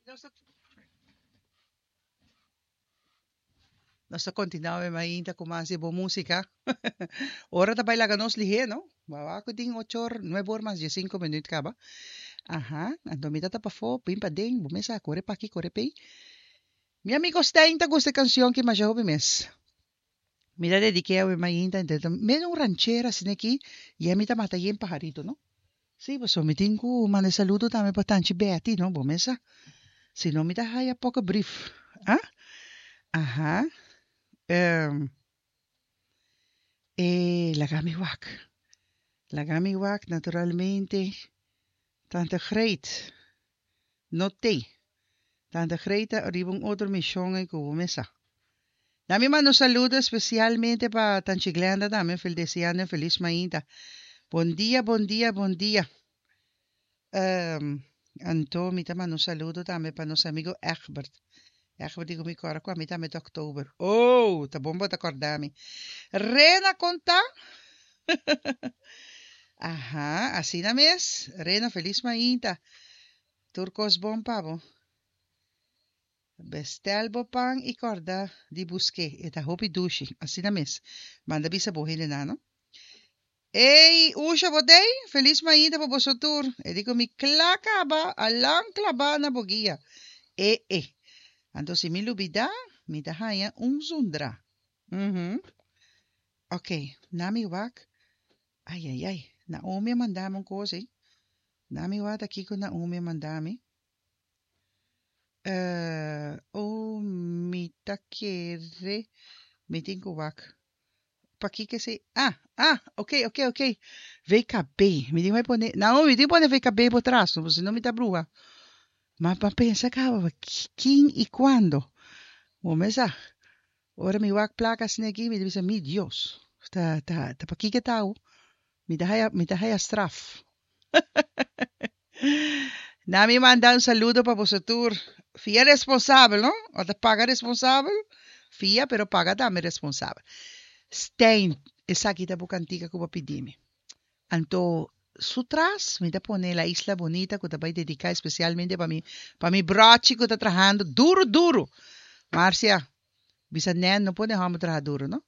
Nos ta Nos ta continua awe mainta cu mas di bo musica. Ora ta bay laga nos lihe, no? Wawa cu tin ocho or, nuebe or mas diesinco minuut caba. Aha, anto mi ta ta pafó, bin paden, bo mes a core p'aki, core p'ey. Mi amigo Stijn ta gusta e cancion ki masha hopi mes. Mi ta dediké awe mainta entre ta medio un ranchera asina aki y ami ta mata yen paharito no. Sí, pasobra mi tin cu manda e saludo tambe pa Tanchi Betty no, bo mes sa. Si no mi ta haya poco brief. Ah? Aha. Ehm e laga mi wak. Laga mi wak naturalmente Tante Greet no t'ey. Tante Greet ta riba un otro mishon ey cu bo mes sa. Na mi manda un saludo especialmente pa Tanchi Glenda tambe fel deseando un feliz mainta. Bon dia, bon dia, bon dia. Anto mi ta manda un saludo tambe pa nos amigo Egbert. Egbert di cu mi cora cu ami tambe ta october. Oh, ta bon bo ta corda mi. Rena con ta? Aha, asina mes. Rena feliz mainta. Tur kos bon pa bo. Bestel bo pan i kòrda di busk'é. E ta hopi dushi. Asina mes. Manda bisa bo hendenan, no? Ey, Usha, bo t'ey? Felis mainta pa boso tur. E di ku mi kla kaba, alan klabá na bo guia. E e. Anto si mi lubidá, mi ta haña un zundrá. Uhum. Oké, na mi wak. Ai, ai, ai. Naomi a manda mi un kos ey. Na mi wak ta kiko Naomi a manda mi. Eh, oh, mi ta kere, mi tin ku wak. Pakiko esei? Ah, ah, ok, ok, ok. VKB. Mi tin bai pone, Naomi, mi tin pone VKB bo tras, no, si no mi ta bruha. Ma pa pensa kaba, kin i kuando? Bo mesa, ora mi wak plaka asina aki, mi ta bisa, mi Dios, ta, ta, ta pakiko e ta awo? Mi ta haya, mi ta haya straf. Na mi manda un saludo pa boso tur. Fia responsabel, no? O ta paga responsabel? Fia, pero paga tambe responsabel. Stein, esaki ta bo kantika ku bo pidi mi. Anto, su tras mi ta pone La Isla Bonita ku ta bai dediká espesialmente pa mi, pa mi brochi ku ta trahando duru duru. Marcia, Bisa Nen no pone hòmber traha duru no.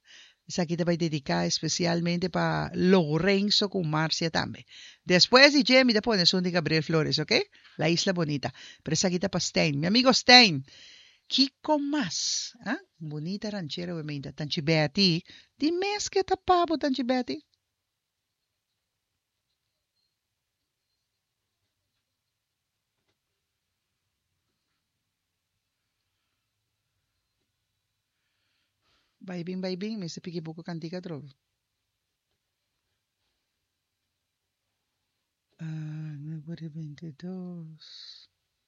Esaki ta bai dediká espesialmente pa Lourenzo ku Marcia tambe. Despues di dje mi ta pone esun di Gabriel Flores oke. La Isla Bonita. Pero esaki ta pa Stein. Mi amigo Stein. Kiko mas? Ah? Bunita ranchera we meinta. Tanchi Betty. Di mes ke ta pa bo Tanchi Betty? Bai bin bai bin mester piki buku kantika atrobe. Ah, nuebe ora i binti dos.